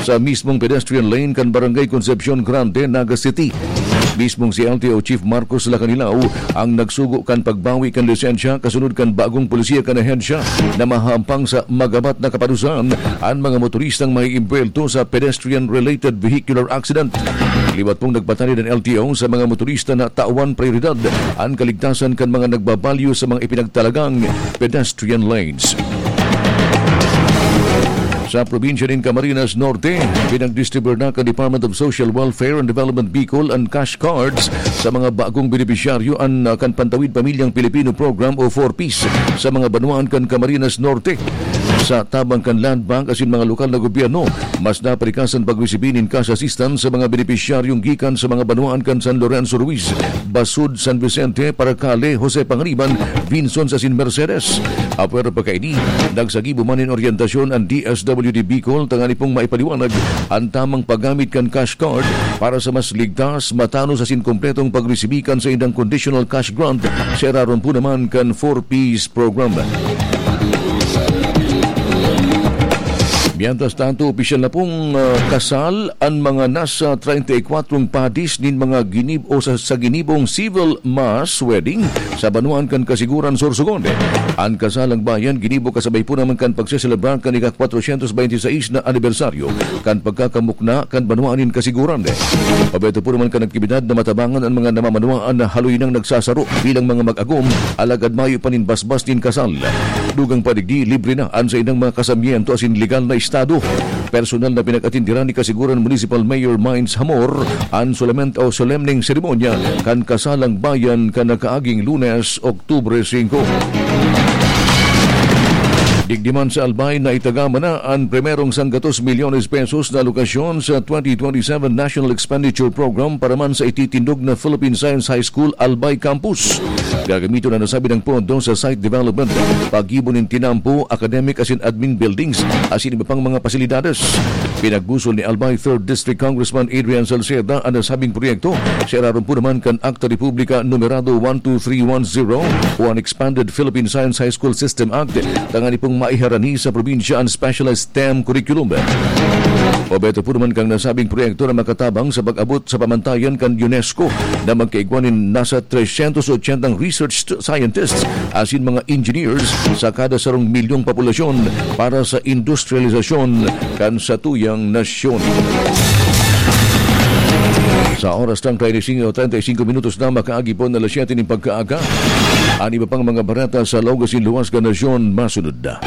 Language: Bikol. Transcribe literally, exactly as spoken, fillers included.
sa mismong pedestrian lane kan Barangay Concepcion Grande, Naga City. Mismong si L T O Chief Marcos Lacanilao ang nagsugo kan pagbawi kan lisensya kasunod kan bagong polisiya kan ahensya na mahampang sa magabat na kapadusan an mga motoristang maiimbwelto sa pedestrian-related vehicular accident. Liwat pong nagpatanid an L T O sa mga motorista na tawan prioridad an kaligtasan kan mga nagbabalyo sa mga ipinagtalagang pedestrian lanes. Sa probinsya nin Camarines Norte, pinagdistribuyar na kan Department of Social Welfare and Development Bicol an cash cards sa mga bagong benepisyaryo an, ah, kan Pantawid Pamilyang Pilipino Program o four Ps sa mga banwaan kan Camarines Norte. Sa tabang kan Land Bank asin mga lokal na gobyerno, mas naparikasan pagresibi nin cash assistance sa mga benepisyaryong gikan sa mga banwaan kan San Lorenzo Ruiz, Basud, San Vicente, Paracale, Jose Pangariban, Vinson asin Mercedes. Apwera pa kaini, nagsagibo man nin oryentasyon an D S W D Bicol tangani pong maipaliwanag an tamang paggamit kan cash card para sa mas ligtas, matanos asin kompletong pagresibi kan saindang conditional cash grant sa irarom po naman kan four Ps program. Mientras tanto, opisyal na pong, ah, kasal an mga nasa treinta y cuatro padis nin mga ginib-, o sa, sa ginibong civil mass wedding sa banwaan kan Kasiguran, Sorsogon. An kasalang bayan ginibo kasabay po naman kan pagseselebrar kan ika-kwatrosyentos bente y seis na anibersaryo kan pagkakamukna kan banwaan nin Kasiguran. Obheto po naman kan aktibidad na matabangan an mga namamanwaan na haloy nang nagsasaro bilang mga mag-agom, alagad mayo pa nin basbas nin kasal. Dugang pa digdi, libre na an saindang mga kasamiento asin legal na estado. Personal na pinag-atindiran ni Kasiguran Municipal Mayor Mines Hamor an solament o solemneng seremonya kan kasalang bayan kan nakaaging Lunes, Oktubre singko. Digdi man sa Albay, naitagama na an primerong sanggatos milyones pesos na alokasyon sa twenty twenty-seven National Expenditure Program para man sa ititindog na Philippine Science High School Albay Campus. Gagamiton na nasabi ng pondo sa site development, paggibo nin tinampo, academic asin admin buildings, asin iba pang mga pasilidades. Pinagbusol ni Albay Third District Congressman Adrian Salceda an nasabing proyekto sa irarom po naman kan Akta Republika Numerado one two three one zero o an Expanded Philippine Science High School System Act, tangani pong maiharani sa probinsya an specialized STEM curriculum. Obheto po naman kan nasabing proyekto na makatabang sa pag-abot sa pamantayan kan UNESCO na magkaigwa nin nasa tresyentos otsentang research scientists asin mga engineers sa kada sarong milyong populasyon para sa industrialisasyon kan satuyang nasyon. Sa oras ng treinta y cinco, treinta y cinco minutos na makaagi po na alas siyete nin pagkaaga. An iba pang mga bareta sa laog asin luwas kan nasyon masunod na.